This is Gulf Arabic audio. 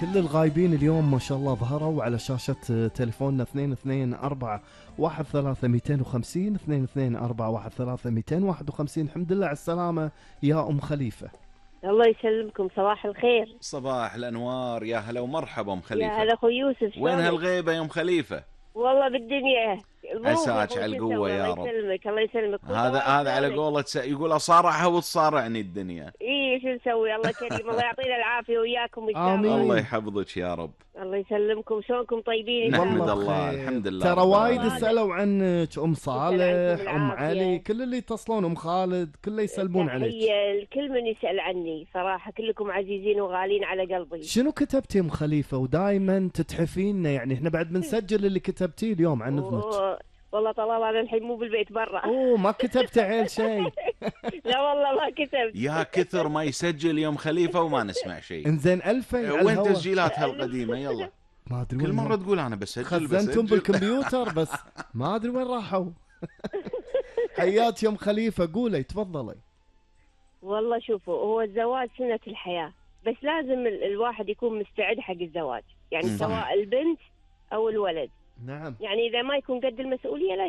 كل الغايبين اليوم ما شاء الله ظهروا على شاشة تليفوننا 224 224 الحمد لله على السلامة يا أم خليفة. الله يسلمكم، صباح الخير. صباح الأنوار، يا هلا ومرحبا أم خليفة. يا هلا أخو يوسف، وين هالغيبة يا أم خليفة؟ والله بالدنيا عساك على القوة يا رب. الله يسلمك الله يسلمك. هذا على قولة يقول أصارعها وتصارعني الدنيا. إيه شو نسوي، الله كريم. الله يعطينا العافية وياكم إن شاء الله. الله يحفظك يا رب. الله يسلمكم. شلونكم طيبين؟ نحمد الله الحمد لله. ترى وايد سألوا عنك، أم صالح، أم علي، كل اللي يتصلون، أم خالد، كله يسلمون عليك. الكل من يسأل عني صراحة، كلكم عزيزين وغالين على قلبي. شنو كتبتي أم خليفة ودائما تتحفينا؟ يعني احنا بعد بنسجل اللي كتبتيه اليوم عن اذنك. والله طلال انا الحين مو بالبيت برا. ما كتبت عيل شيء. لا والله ما كتبت. يا كثر ما يسجل يوم خليفة وما نسمع شيء. انزين 2000 وين تسجيلاتها القديمة؟ يلا ما ادري كل مرة تقول انا بسجل خزنتهم بالكمبيوتر بس ما ادري وين راحوا. حياك يا ام خليفة، قولي تفضلي. والله شوفوا، هو الزواج سنة الحياة، بس لازم الواحد يكون مستعد حق الزواج، يعني سواء البنت او الولد. نعم. يعني اذا ما يكون قد المسؤولية لا